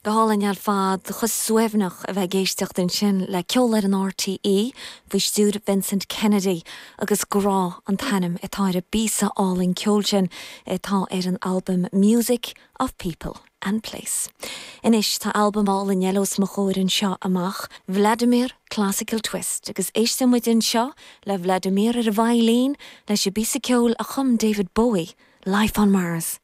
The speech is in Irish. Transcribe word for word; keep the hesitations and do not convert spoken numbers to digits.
Go hálainn ar fad chomh suaimhneach a bheith ag éisteacht ansin le ceol ar an RTÉ faoi stiúir Vincent Kennedy agus grá an t-ainm atá ar an bpíosa álainn ceoil sin atá ar an albam Music of People and Place. Anois tá albam álainn eile os mo chomhair anseo amach, Vladimir Classical Twist, agus éisteann muid anseo le Vladimir ar an veidhlín leis an bpíosa ceoil a chum David Bowie, Life on Mars.